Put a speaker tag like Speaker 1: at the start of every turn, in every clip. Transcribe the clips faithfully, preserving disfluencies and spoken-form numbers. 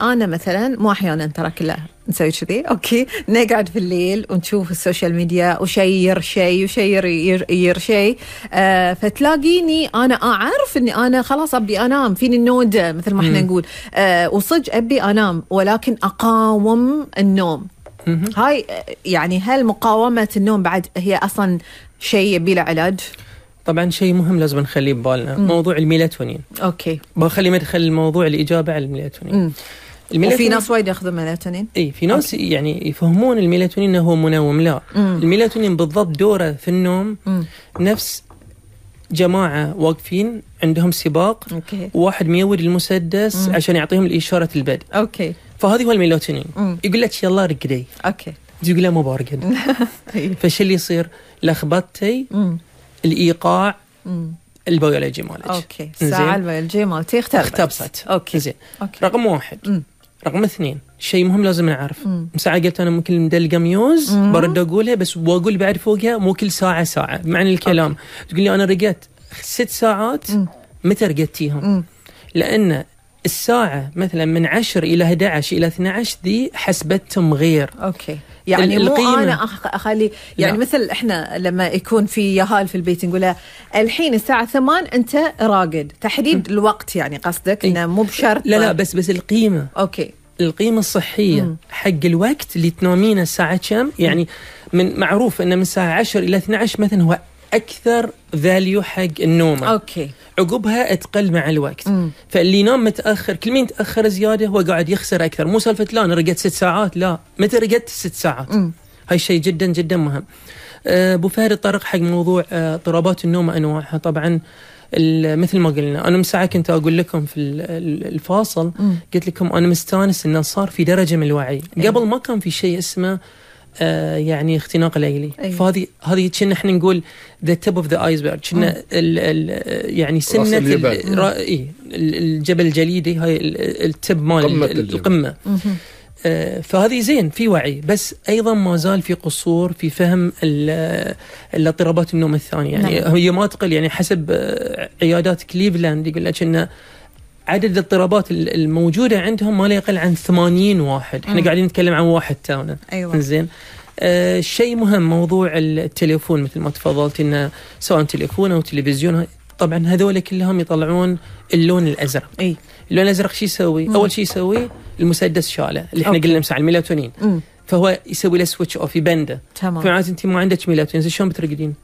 Speaker 1: أنا مثلا مو أحيانا ترى كلها نسوي كذي أوكي، نقعد في الليل ونشوف السوشيال ميديا وشير شيء وشير ير شيء، آه فتلاقيني أنا أعرف إني أنا خلاص أبي أنام، فيني النودة مثل ما إحنا نقول، آه وصج أبي أنام ولكن أقاوم النوم. هاي يعني هل مقاومة النوم بعد هي أصلا شيء يبي له علاج؟
Speaker 2: طبعا شيء مهم لازم نخليه ببالنا، موضوع الميلاتونين.
Speaker 1: اوكي،
Speaker 2: بخلي مدخل الموضوع الإجابة على الميلاتونين.
Speaker 1: الميلاتونين وفي ناس وايد ياخذوا ميلاتونين.
Speaker 2: اي في ناس أوكي. يعني يفهمون الميلاتونين انه هو منوم، لا مم. الميلاتونين بالضبط دوره في النوم مم. نفس جماعة واقفين عندهم سباق أوكي. وواحد ميود المسدس مم. عشان يعطيهم الإشارة البدء.
Speaker 1: اوكي،
Speaker 2: فهذه هو الميلاتونين. مم. يقول لك يلا رقدي.
Speaker 1: اوكي،
Speaker 2: تقول له ما برقد. فش اللي يصير؟ لخبطتي الإيقاع مم. البيولوجي مالك.
Speaker 1: اوكي، الساعة البيولوجية مالتي اختربت.
Speaker 2: اختبصت.
Speaker 1: اوكي
Speaker 2: زين. رقم واحد. مم. رقم اثنين، شيء مهم لازم نعرف. مساعة قلت أنا ممكن مدلقة ميوز مم. برد أقولها، بس وأقول بعد فوقها مو كل ساعة ساعة بمعنى الكلام. أوكي. تقول لي أنا رقدت ست ساعات مم. متى رقدتيهم؟ مم. لأن الساعة مثلا من عشر إلى أحد عشر إلى اثني عشر دي حسبتهم غير.
Speaker 1: أوكي، يعني مو أنا أخلي يعني لا. مثل إحنا لما يكون في يهال في البيت نقولها الحين الساعة ثمان أنت راقد، تحديد م. الوقت يعني قصدك إنه مو بشرط.
Speaker 2: لا لا بس بس القيمة.
Speaker 1: أوكي،
Speaker 2: القيمة الصحية م. حق الوقت اللي تنامينه الساعة كم، يعني من معروف إنه من الساعة عشر إلى اثني عشر مثلا هو أكثر فاليو حق النوم.
Speaker 1: أوكي،
Speaker 2: عقبها تقل مع الوقت. مم. فاللي ينام متأخر كل مين تأخر زيادة هو قاعد يخسر أكثر. مو سالفة لا أنا رقدت ست ساعات، لا متى رقدت ست ساعات. مم. هاي شيء جدا جدا مهم. أبو فهد طرق حق موضوع اضطرابات النوم أنواعها. طبعا مثل ما قلنا أنا مساعة كنت أقول لكم في الفاصل مم. قلت لكم أنا مستانس إنه صار في درجة من الوعي. أيه. قبل ما كان في شيء اسمه آه يعني اختناق ليلي. أيه. فهذه هذه كنا احنا نقول the tip of the iceberg، كنا ال ال يعني سنة ال الجبل الجليدي، هاي التب مال القمة. آه فهذه زين في وعي، بس أيضا ما زال في قصور في فهم الاضطرابات النوم الثانية. يعني نعم. هي ما تقل، يعني حسب عيادات كليفلاند يقول لك إنه عدد الاضطرابات الموجودة عندهم ما لا يقل عن ثمانين واحد. احنا قاعدين نتكلم عن واحد تاونا.
Speaker 1: أيوة.
Speaker 2: زين. آه شيء مهم موضوع التليفون مثل ما تفضلت، إنه سواء تليفون أو تلفزيون طبعا هذول كلهم يطلعون اللون الأزرق.
Speaker 1: أي.
Speaker 2: اللون الأزرق شيء يسوي؟ مم. أول شيء يسوي المسدس شاله اللي احنا
Speaker 1: أوكي.
Speaker 2: قلنا مساع الميلاتونين. مم. فهو يسوي له سويتش أوف يبنده.
Speaker 1: تمام.
Speaker 2: فمعناته أنت ما عندك ميلاتونين شلون بترقدين؟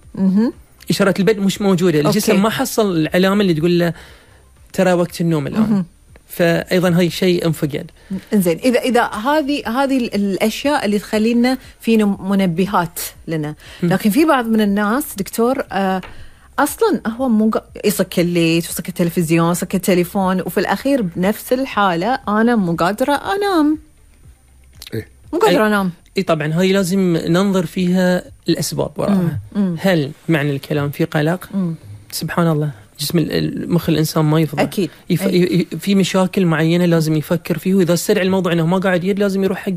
Speaker 2: إشارات البدء مش موجودة. الجسم أوكي. ما حصل العلامة اللي تقول له ترى وقت النوم الآن. مم. فأيضا هاي شيء انفقد.
Speaker 1: إنزين، إذا إذا هذه هذه الأشياء اللي تخلينا في منبهات لنا، لكن في بعض من الناس دكتور آه أصلاً هو مو يصك الليت ويصك التلفزيون يصك التليفون، وفي الأخير بنفس الحالة أنا مو قادرة أنام.
Speaker 2: إيه؟
Speaker 1: مو قادرة أنام.
Speaker 2: إيه طبعاً هاي لازم ننظر فيها الأسباب وراءها. هل معنى الكلام في قلق؟ مم. سبحان الله جسم المخ الإنسان ما يفضل.
Speaker 1: أكيد.
Speaker 2: يف... أي. في مشاكل معينة لازم يفكر فيه، وإذا استدعى الموضوع أنه ما قاعد يد لازم يروح حق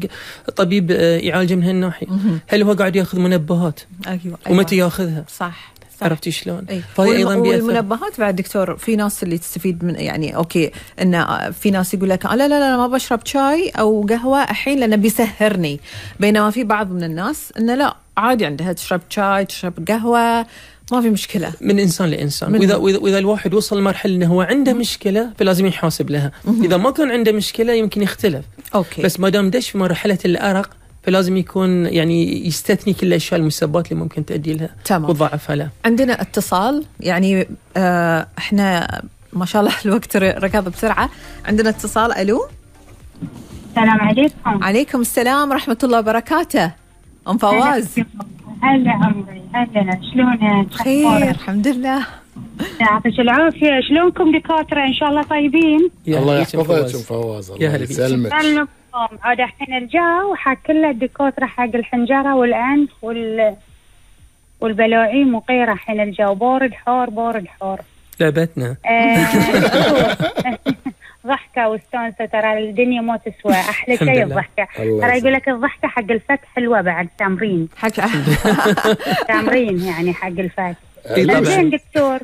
Speaker 2: طبيب يعالجه من هالناحية. هل هو قاعد يأخذ منبهات؟
Speaker 1: أيوة. أيوة.
Speaker 2: ومتى يأخذها؟
Speaker 1: صح.
Speaker 2: عرفتي شلون؟
Speaker 1: أي. فهي أيضا والمنبهات بعد دكتور في ناس اللي تستفيد من، يعني أوكي إن في ناس يقول لك لا لا لا ما بشرب شاي أو قهوة الحين لأنه بيسهرني، بينما في بعض من الناس إنه لا عادي عندها تشرب شاي تشرب قهوة ما في مشكلة. من
Speaker 2: إنسان لإنسان. وإذا وإذا الواحد وصل مرحلة إنه هو عنده مشكلة فلازم يحاسب لها. إذا ما كان عنده مشكلة يمكن يختلف.
Speaker 1: أوكي.
Speaker 2: بس ما دام دش في مرحلة الأرق فلازم يكون يعني يستثني كل الأشياء المسببات اللي ممكن تؤدي لها وتضاعفها له.
Speaker 1: عندنا اتصال، يعني آه احنا ما شاء الله الوقت ركض بسرعة. عندنا اتصال. ألو.
Speaker 3: السلام عليكم.
Speaker 1: عليكم السلام ورحمة الله وبركاته. أم فواز.
Speaker 3: هلا عمري، هلا شلونك؟
Speaker 1: خير الحمد لله.
Speaker 3: يعطيك العافية. شلونكم دكاترة؟ إن شاء الله طيبين.
Speaker 4: الله يحفظك أم فواز. الله يسلمك.
Speaker 3: عاد الحين الجو حق كل الدكاترة حق الحنجرة والأنف وال والبلاعيم وغيره. الحين الجو بارد حار بارد حار.
Speaker 2: لعبتنا.
Speaker 3: ضحكة واستانسة، ترى الدنيا ما تسوى. أحلى شيء الضحكة. ترى يقول لك الضحكة حق الفك حلوة بعد تمرين.
Speaker 1: حق
Speaker 3: تمرين يعني حق الفك. زين دكتور،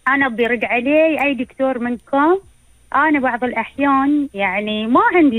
Speaker 3: أنا برد علي أي دكتور منكم أنا بعض الأحيان يعني ما عندي